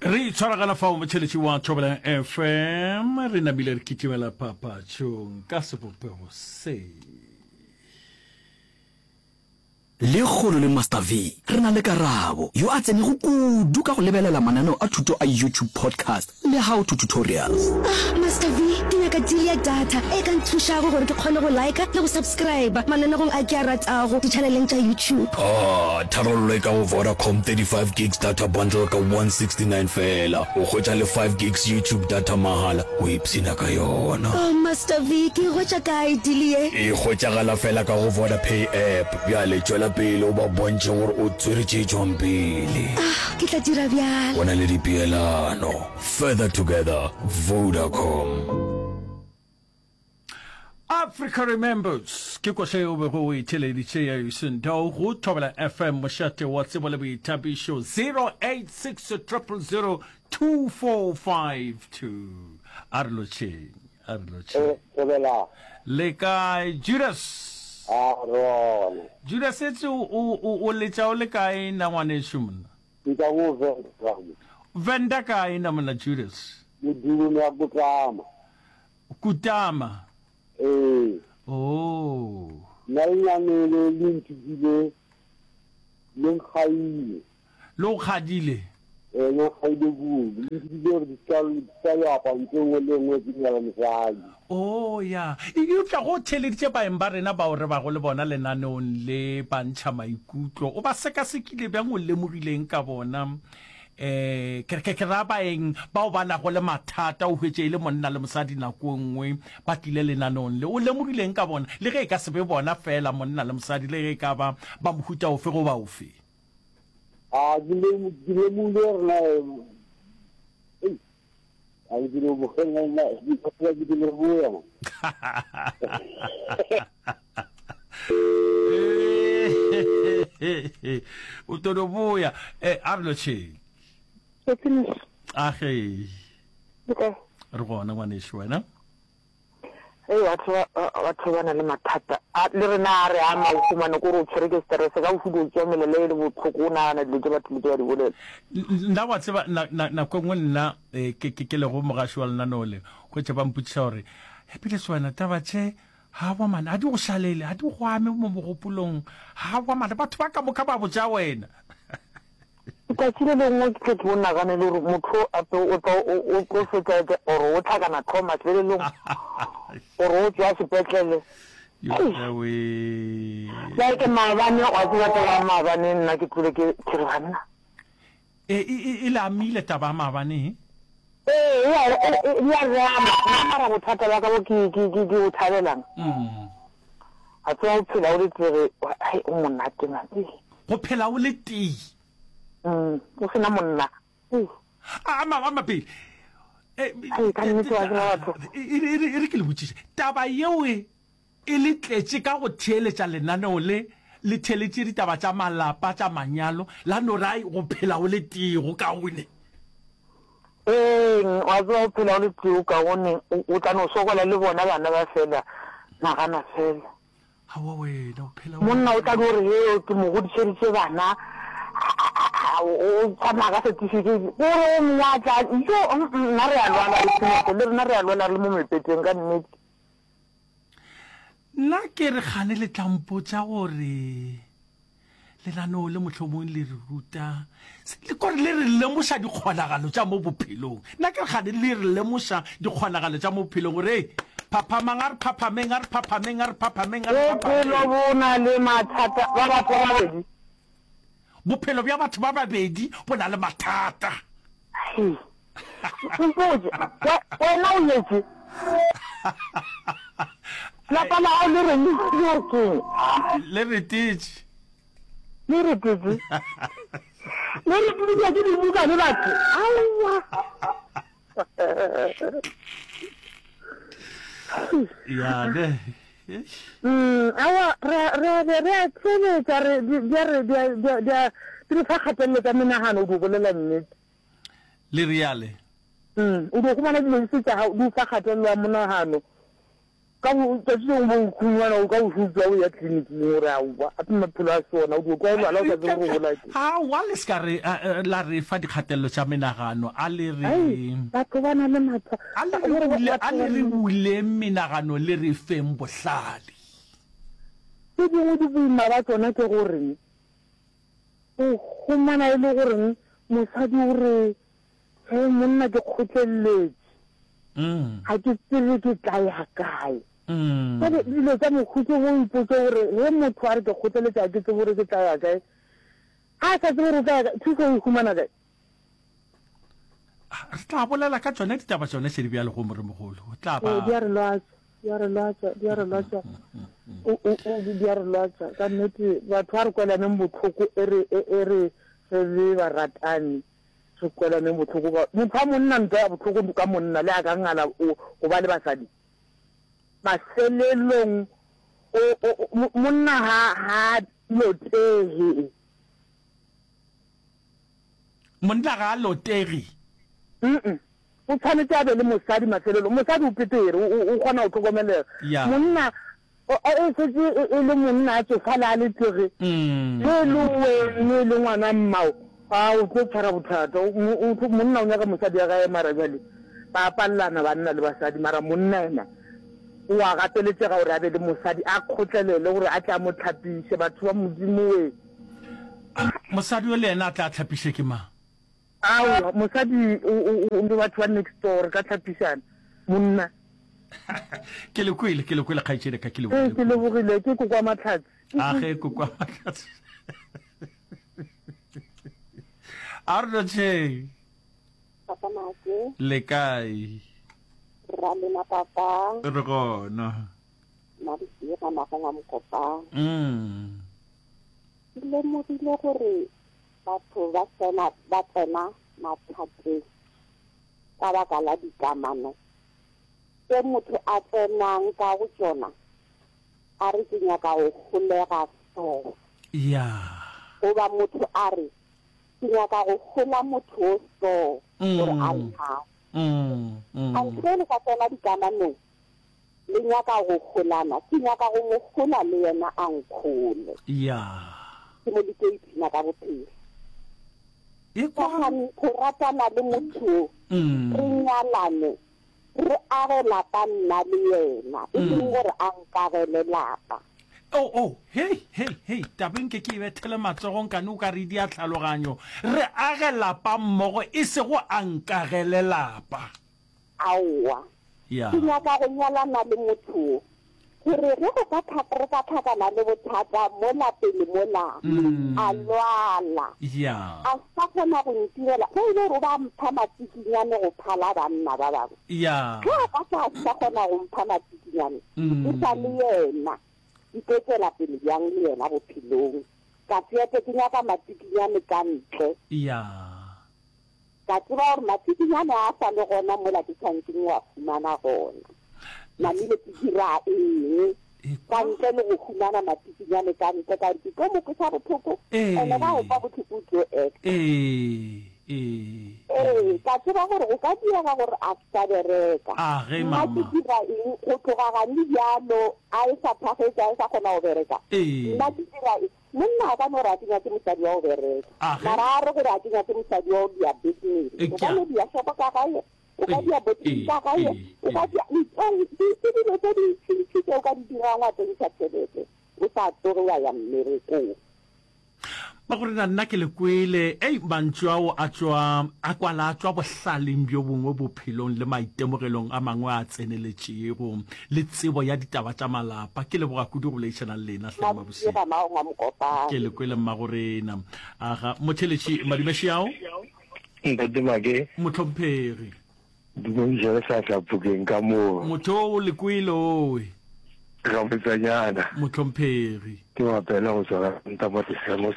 Re itshwaragana fao motšheletši wa Thobela FM, re namile re kitimela papatšong ka sebopego se. Lekgolo le Master V re na le Karabo, yo a tsenego kudu ka go lebelela mananeo a thuto a YouTube podcast le how to tutorials. Ah, Master V, ke nyaka deal ya data e ka nthušago gore ke kgone go liker le go subscriber mananegong a ke a ratago ditšhaneleng tša YouTube. Ah, tharollo e ka go Vodacom 35 gigs data bundle ka 169 feela. O hwetša le 5 gigs YouTube data mahala. O ipshina ka yona. Oh, Master V, ke e hwetša kae deal ye? E hwetšagala feela ka go Vodapay app. Bjale tšwela pele o ba bontšhe gore o tswere tše tšwang pele. Ah, ke tla dira bjalo. Go na le dipeelano. Further together, Vodacom. Africa Remembers ke koša yeo o bego o e theeleditše ya Yusundo go Thobela FM mošate wa tsebo le boithabišo 086 000 2452 a re lotšheng a re lotšheng eh, Thobela le kae Judas a rona Judas etse o o o letša o le kae na ngwanešu monna Nka go Venda Venda kae na monna Judas Modimo ya Kutama Kutama. Ee. Oh. Nna lenyane le le nthutile le nkgaile. Le o kgadile? Ee, le nkgaile kudu. Le nthutile gore di ska di ska yo apa ntho e nngwe le e nngwe ke nyala mosadi. Oh, ya. Eupša go theeleditše baeng ba rena bao re bago le bona lenaneong le ba ntšha maikutlo, o ba sekasekile bjang? O lemogile eng ka bona? Eh, ke, ke, ke ra baeng bao ba nago le mathata, o hwetše e le monna le mosadi nako e nngwe ba tlile lenaneong le. O lemogile eng ka bona? Le ge e ka se be bona feela monna le mosadi, le ge e ka ba ba mohuta ofe goba ofe. A, ke lemo, ke lemogile gore na, ei, a ke dilo bogeng, na, ke dilo boya, man. O tlo no boya. Eh, a re lotšheng. A ge. Re gona ngwanešu wena. Hei batho ba batho ba na le mathata a le rena a re ama o fumane kore o tshwere ke stress ka o fudu o tswa melele e le botlhoko o nagana dilo tše batho le tše ba di bolela. Nna wa tseba nako e nngwe nna eh, ke ke lego mogaši wa lenaneo le hwetše ba mpotšiša gore Happiness wena taba tše Aowa man, a di go šalele, a di go ame mo mogopolong. Aowa man, batho ba ka moka ba botša wena. Letšatši le lengwe ke tle ke o nagane le gore motho o ape o tla o tlo fetša or o tlhakana tlhogo mafelelong or o tšwa sepetlele. Bjale ke maabane wa tseba taba ya maabane nna ke tlile ke ke re banna. E, e, e, e le amile taba ya maabane he? Ee, e a, e, e, e a re ama. Nna mara bothata bja ka bo ke, ke, ke, ke bo thabelang. A tseba go phela o le tee, hai, o monate man. Ei. Go phela o le tee. Mm, o se na monna. Ei. A, ama, ama pele. E, Hai, ka nnete wa tseba batho. e, e, e, e re ke le botšiše. Taba yeo e, E le tletše ka go theeletša lenaneo le, le theeletše ditaba tša malapa, tša manyalo, la no re, Ai, go phela o le tee go kaone. Eng, wa tseba, go phela o le tee go kaone, o, o tla no sokola le bona bana ba fela, nagana fela. Aowa wena, o phela o le Monna o tla no re, Hee, ke mo godišeditše bana, a, a, a, a, o tsamaya ka certificate, o re o mongwe a tla, jo, mm, nna re a lwala, le Tshemese, le rena re a lwala re le mo mepeteng, ka nnete. Nna ke re kgane le tla mpotša gore lenaneo le mohlomong le re ruta le kore le re lemoša dikgonagalo tša mo bophelong. Nna ke re kgane le re lemoša dikgonagalo tša mo bophelong gore ei phaphamang a re phaphameng a re phaphameng a re phaphameng a re Bophelo phaphameng. bo na le mathata ba batho ba babedi. Bophelo bja batho ba babedi bo na le mathata. Hei. Mpotše, wena o nyetše? Lapa la gago le reng? Le re keng? Le retetše. Le retetše? Le retetše ke dibuka le batho? Aowa. Ya ne. Mm, aowa, re re re re a theeletša re di di re di di di di re fa kgatelelo tsa menagano o di bolela nnete. Le reale. Mm, o dio humana dilo di se tša gago di o fa kgatelelo ya monagano. Ka bo tšatši lengwe bo khungwana o ka o šutšwa o ya tleliniking o re aowa gape maphelo a se ona o dio kwa o lwala o sa tsebe gore o bolaya ke. Aowa le se ka re la re fa dikgatelelo tša menagano a le re. Ai batho ba na le matha A le re bule a le re buleng menagano le re feng bohlale. Tše dingwe di boima ba tšona ke gore o humana e le goreng mosadi o re Hee monna ke kgotlelletše. Ga ke tsebe ke tla ya kae. Jwale dilo tša mohuta wo ipotše gore ge motho a re ke kgotleletše ga ke tsebe gore ke tla ya kae. Ga a sa tsebe gore o tla ya kae, thušo o e humana kae? Re tla bolela ka tšone ditaba tšone šedi bjalo go moremogolo. O tla ba. Ee, di a re lwatša, di a re lwatša, di a re lwatša. O, o, o, di a re lwatša. Ka nnete, batho a re kwelaneng bohloko e re, e, e re re be baratani. Re kwelaneng bohloko ka motho wa monna ntwa ya bohloko ka monna le a ka ngala o go ba le basadi mafelelong o o monna ha ha lotege. Monna ga a lotege. Mm o tshwanetse a be le mosadi mafelelong mosadi o petere o kgona go hlokomelega monna O, e šetše e, e le monna a tšofala a le tege, ge e le wene e le ngwana mmao, a o tlo tshwara bothata. O, o, o, monna o nyaka mosadi ya gae mara bjale ba palelana banna le basadi, mara monna yena o a gapeletšega gore a be le mosadi, a kgotlelele gore a tle a mo hlapiše. Batho ba Modimo we! Mosadi yo le yena a tle a hlapiše ke mang? Aowa, mosadi o, o, o, le batho ba next door re ka hlapišana. Monna. Ke le kwele, ke le kwele kgaetšedi ka, ke le Ee, ke lebogile, ke Kokwa Mahlatse. A ge Kokwa Mahlatse. A re lotšheng. Papa Make. Le kae? Ra lena papa. Re gona. Mabusega magong a Mokopane. Mm. Ke lemogile gore Batho ba tsena ba tsena mathateng ka baka la dikamano tše motho a tsenang ka go tšona a re ke nyaka go holega so. Ya. Goba motho a re ke nyaka go hola motho o so gore a nthate. Kganthe le sa tsena dikamanong le nyaka go holana, ke nyaka go mo hola le yena a nkhole. Ya. Ke mo le tlo ipshina ka bophelo. Ekwa. Sathane go ratana le motho yo, re nyalane, re age lapa nna le yena, e seng gore a nkagele lapa. Oh, oh, hei, hei, hei, taba e nke ke e bethele matsogo nkane o ka re di a tlhaloganyo. Re age lapa mmogo, e sego a nkagele lapa. Aowa. Ya. Ke nyaka go nyalana le motho wo, gore ge go ka tlha, re ka hlakana le bothata mola pele mola, a lwala, Ya. a sa kgona go ntirela, ge e le gore o ba mpha matsikinyane go phala banna ba bangwe. Ya. Ge a ka tla a sa kgona go mpha matsikinyane, ke sa le yena, ke tlo tšwela pele bjang le yena bophelong? Ka seete ke nyaka matsikinyane ka ntle. Ya. Ka tseba gore matsikinyane a sa le gona mola ke tshwanetseng go a humana gona. Namile ke dira eng ka ntle le go humana matsikinyane ka ntle ka gore ke tlo mo kweša bohloko ene ga o kwa bohloko o tlo acta. Ee, ka tseba gore go ka direga gore a se sa bereka. Nna ke dira eng go tloga gane bjalo a e sa phagetše a e sa kgona go bereka? Nna ke dira eng? Monna a ka no re a ke nyake mosadi wa go bereka, mara a re gore a ke nyake mosadi wa go dia business. O ka no dia shopo ka gae, o ka dia boutique ka gae, o ka dia ke dilo tse dintšintši tse o ka di dirang wa tsentšha tšhelete o sa tsoge wa ya mmerekong. Magorena nna ke le kwele. Ei, mantšu ao a tšwa, a kwala a tšwa bohlaleng bjo bongwe bophelong le maitemogelong a mangwe a tseneletšego, le tsebo ya ditaba tša malapa. Ke leboga kudu go boledišana le lena, hle Mabusile. Ke le kwele Mmagorena. Aga, motheletši Madumeši ao. Ntate Make. Mohlomphegi. Dumediša le hlahla phokeng ka moo. Motho o le kwele owe. Gabotsanyana. Mohlomphegi. Ke mapele go tšwa ka Ntamati Semos.